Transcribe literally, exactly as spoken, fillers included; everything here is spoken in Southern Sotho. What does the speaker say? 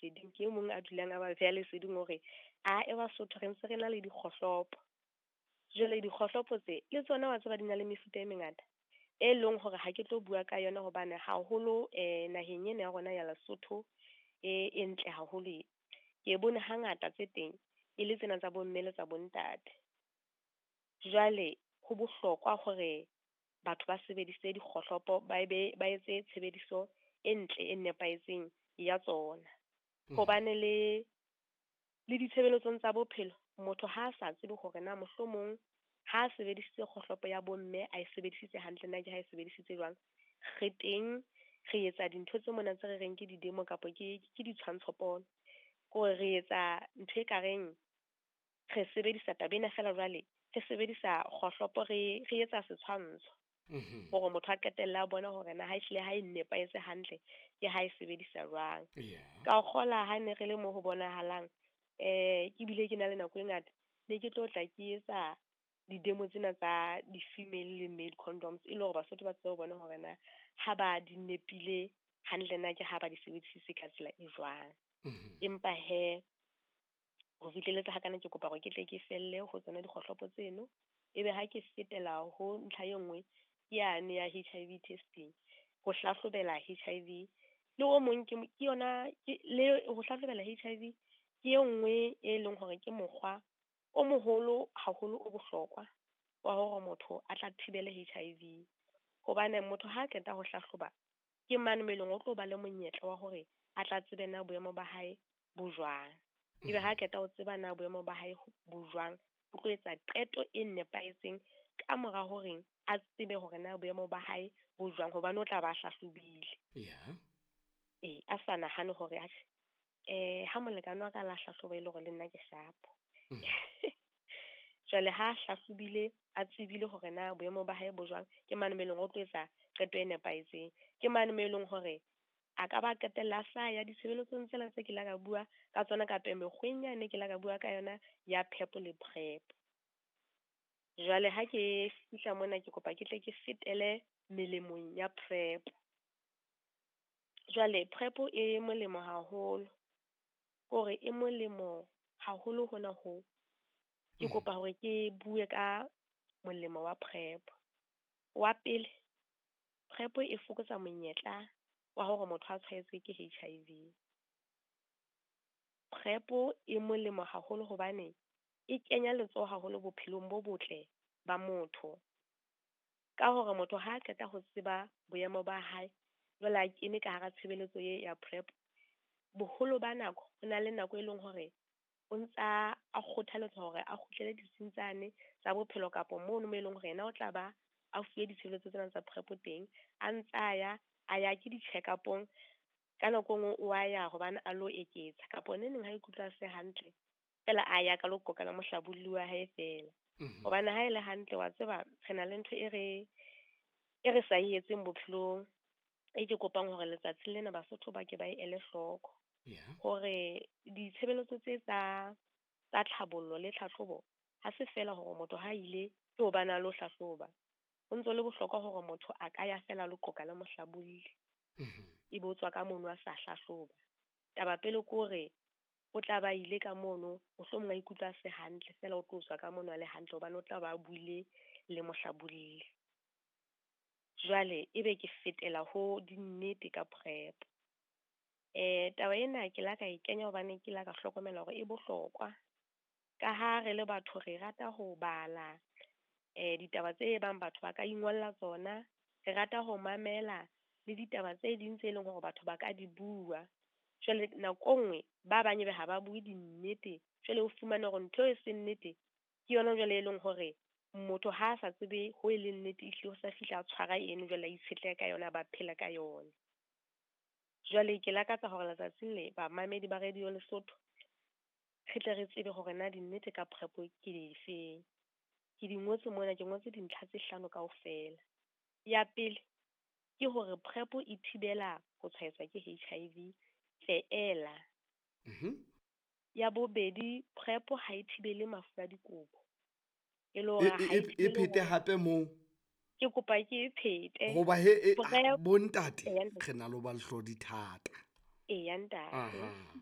leseding, ke e mong a dulang a ba beha leseding hore a e Basotho re ntse re na le dikgohlopo. Jwale dikgohlopo tse le tsona wa tseba di na le mefuta e mengata e leng hore ha ke tlo bua ka yona hobane haholo eh naheng ena ya rona ya Lesotho e e ntle haholo e. Ke bone hangata tse teng e le tsena tsa bomme le tsa bontate. Jwale ho bohlokwa hore batho ba sebedise dikgohlopo ba ebe ba etse tshebediso e ntle e nepahetseng ya tsona. Hobane le le ditshebeletsong tsa bophelo motho ha a sa tsebe hore na mohlomong ha a sebedisitse kgohlopo ya bomme a e sebedisitse hantle na ke ha e sebedisitse jwang. Re teng re etsa dintho tse mona tse re reng ke di-demo kapa ke ke ditshwantsho pono. Kore re etsa ntho e kareng re sebedisa taba ena feela jwale re sebedisa kgohlopo re re etsa setshwantsho Mhm. hore motho a qetelle a bona hore na ha ehlile ha e nepahetse hantle ke ha e sebedisa jwang. Yeah. Ka kgola ha ne re le mo ho bonahalang eh ke bile ke na le nako e ngata ne ke tlo tla ke etsa di-demo tsena tsa di-female le male condoms e le hore Basotho ba tsebe ho bona hore na ha ba di nepile hantle na ke ha ba di sebedisitse ka tsela e jwang. Mhm. Empa he ho fihlelletse hakana ke kopa hore ke tle ke felle ho tsona dikgohlopo tseno ebe ha ke fetela ho ntlha e nngwe ke yane ya H I V testing ho hlahlobela H I V le o mong ke ke yona ke le ho hlahlobela H I V ke e nngwe e leng hore ke mokgwa o moholo haholo o bohlokwa wa hore motho a tla thibele H I V. Hobane motho ha qeta ho hlahloba ke mane mo eleng o tlo ba le monyetla wa hore a tla tsebe na boemo ba hae bo jwang. Ebe ha qeta ho tseba na boemo ba hae bo jwang, o tlo etsa qeto e nepahetseng ka mora hore a tsebe hore na boemo ba hae bo jwang hobane o tla ba hlahlobile. Yeah. Eh a sa nahane hore atjhe eh ha molekane wa ka la hlahloba e le hore le nna ke sharp. Mm. Jwale ha hlahlobile a tsebile hore na boemo ba hae bo jwang, ke mane mo eleng o tlo etsa qeto e nepahetseng. Ke mane mo eleng hore a ka ba qetella a sa ya ditshebeletsong tsena tse ke la ka bua ka tsona kapa mekgweng yane ke la ka bua ka yona ya PEP le PrEP. Jwale ha ke fihla mona ke kopa ke tle ke fetele melemong ya PrEP. Jwale PrEP e molemo haholo, kore e molemo haholo hona ho. Ke Mm. kopa hore ke bue ka molemo wa PrEP. Wa pele, PrEP e fokotsa monyetla wa hore motho a tshwaetswe ke H I V. PrEP e molemo haholo hobane e kenya letsoho haholo bophelong bo botle ba motho. Ka hore motho ha qeta ho tseba boemo ba hae, jwale a kene ka hara tshebeletso e ya PrEP, boholo ba nako ho na le nako e leng hore o ntsa a kgothaletswa hore a kgutlele ditsing tsane tsa bophelo kapa mono mo eleng hore yena o tla ba a fuwe ditshebeletso tsena tsa PrEP teng, a ntsa ya a ya ke di-check-up-ong ka nako e nngwe o a ya hobane a lo eketsa kapa neneng ha ikutlwa a se hantle feela a ya ka lo qoqa le mohlabolli wa hae feela. Mhm. Hobane ha e le hantle wa tseba re na le ntho e re e re sa e etseng bophelong e ke kopang hore letsatsi lena Basotho ba ke ba e ele hloko. Yeah. Hore ditshebeletso tse tsa tsa tlhabollo le tlhahlobo ha se feela hore motho ha ile ke hobane a lo hlahloba. Ho ntso le bohlokwa hore motho a ka ya feela lo qoqa le mohlabolli. Mhm. Ebe o tswa ka mono a sa hlahloba. Taba pele ke hore o tla ba ile ka mono mohlomong a ikutlwa a se hantle feela o tlo tswa ka mono a le hantle hobane o tla ba buile le mohlabolli. Jwale ebe ke fetela ho dinnete ka PrEP. Eh taba ena ke la ka e kenya hobane ke la ka hlokomela hore e bohlokwa. Ka ha re le batho re rata ho bala eh ditaba tse bang batho ba ka ingolla tsona, re rata ho mamela le ditaba tse ding tse leng hore batho ba ka di bua. Jwale nako nngwe ba bang ebe ha ba bue dinnete, jwale o fumane hore ntho e seng nnete ke yona jwale e leng hore motho ha a sa tsebe ho e leng nnete ehlile o sa fihla a tshwara eno jwale a itshetleha ka yona ba phela ka yona. Jwale ke lakatsa hore letsatsing le bamamedi ba Radio Lesotho re tle re tsebe hore na dinnete ka PrEP ke difeng. Ke di ngotse mona, ke ngotse dintlha tse hlano kaofela. Ya pele ke hore PrEP e thibela ho tshwaetswa ke H I V feela. Mhm. Ya bobedi, PrEP ha e thibele mafu a dikobo. E le hore E, ha e, e e, e thibele phete hore hape moo. Ke kopa ke e phete. Hoba he, e, PrEP bontate, Eya, ntate. re na le ho ba lehlodi thata. Eya, ntate. Aha.